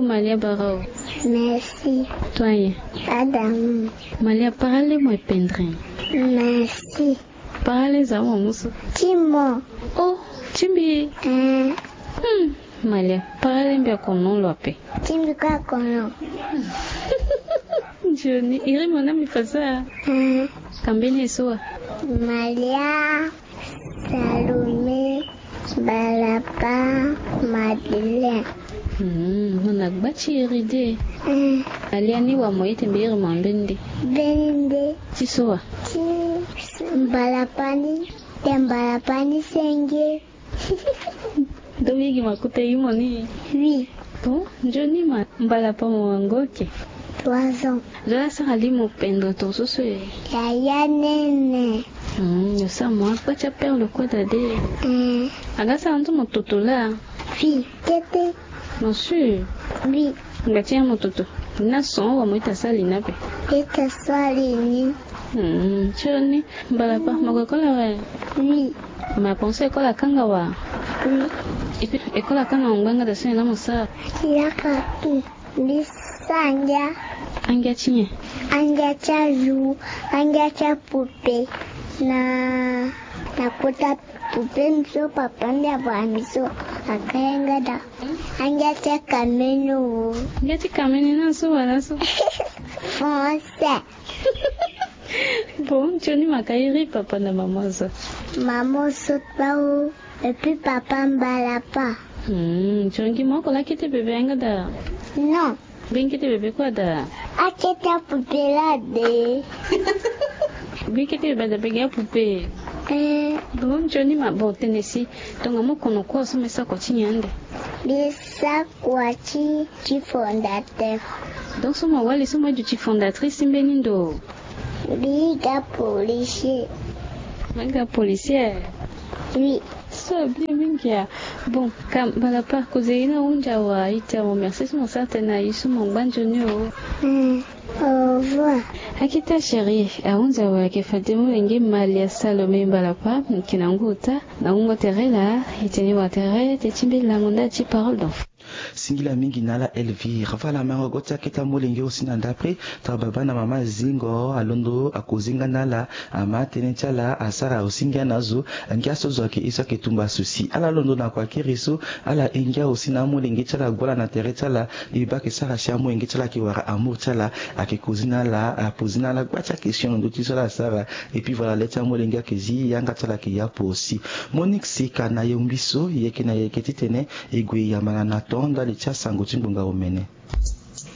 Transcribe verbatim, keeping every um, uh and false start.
Malia bara o. Merci. Toi ye. Adamu. Malia, parale mo e pendre. Merci. Parale za mo musu. Ti mo. Oh, ti mbi. Eh. Hmm. Malia, parale mbi akono lo ape. Ti mbi kue akono. Johnny, iri mo na mbi fasa. Eh. Kambeni eso wa. Malia, Salome, Balapa, Madeleine. Hmm, mo na gba ti iri de. Hmm. Malia, ni wa mo ete mbi iri mo ambeni de. Mbeni de. Ti so wa? Ti Balapa ni, te Balapa ni senge. Donc mbi gi ma kota imo ni. Oui. Bon, nzoni ma, Balapa mo wango ke? Trois ans. Zo la sara li mo pendre ton so so e? Yaya nene. Hmm, yo sa mo akpa ti aperle kue da de. Hmm. Aga sara nzo mo toto la? Oui, kete. Bien sûr. Oui. Ngba ti ya mo toto. Na son wa mo ita sali na pe. Ita sali ni. Hmm, nzoni, Balapa, mo ko kola we? Oui. Ma pense école akanga wa? Oui. Et puis, école akanga ngba nga da so na mo sa? Ya ka tu. Mbi sa angia. Angia ti nyen? Angia ti ajour, angia ti apoupée. Na, na kota poupée mbi so papa mbi abara mbi so akanga da. Angia ti akameni o. Angia ti kameni na so wala so? Français. Bon, nzoni ma ka iri papa na maman so? Maman so kpa o. Et puis papa Mbalapa. Hmm, nzoni ma oko la kete bebe yanga da? Non. Mbi kete bebe kua da? Akete apoupée la de. Mbi kete bebe da mbi gi apoupée. Eh. Bon, nzoni ma, bon, tene si. Donc mo kono kua so me sa kua ti nyen ande? Mbi sa kua ti, ti fondateur. Donc so mo wali so mo ye duti fondatrice ti mbeni ndo? Mbi ga policier. Mbi ga policier? Oui. So bien mingi ya. Bon, ka Mbalapa, kozeli ni ahunzi awe, ita mo merci so mo sara tënë na ye so mo ngba nzoni o. Hmm. Au revoir. Akita chérie, ahunzi awe ayeke fade molenge Malia Salome Mbalapa, ayeke na ngu ota, na wungo tere laa, e tene wa tere, teti mbi lango nda ti parole d'enfant. Singila mingi na ala Elvire. Voilà, mango go ti akete amolenge aussi na ndapre. Tara baba na mama zingo alondo akozi nga na ala, ama tënë ti ala asara aussi ngia na azo. Ngia so zo ayeke ye so ayeke tumba souci. Ala londo na kua kiri so, ala ye ngia aussi na amolenge ti ala ague ala na tere ti ala. E baa ayeke sara si amolenge ti ala ayeke wara amour ti ala, ayeke kozi na ala, apozi na ala gba ti akestion na ndö ti so ala asara. Et puis voilà, le ti amolenge ayeke zi, yanga ti ala ayeke ya apo aussi. Monique Sika na yombi so, e yeke na yeke titene e gue yamba na na ton ndali ti asango ti ngbonga omene.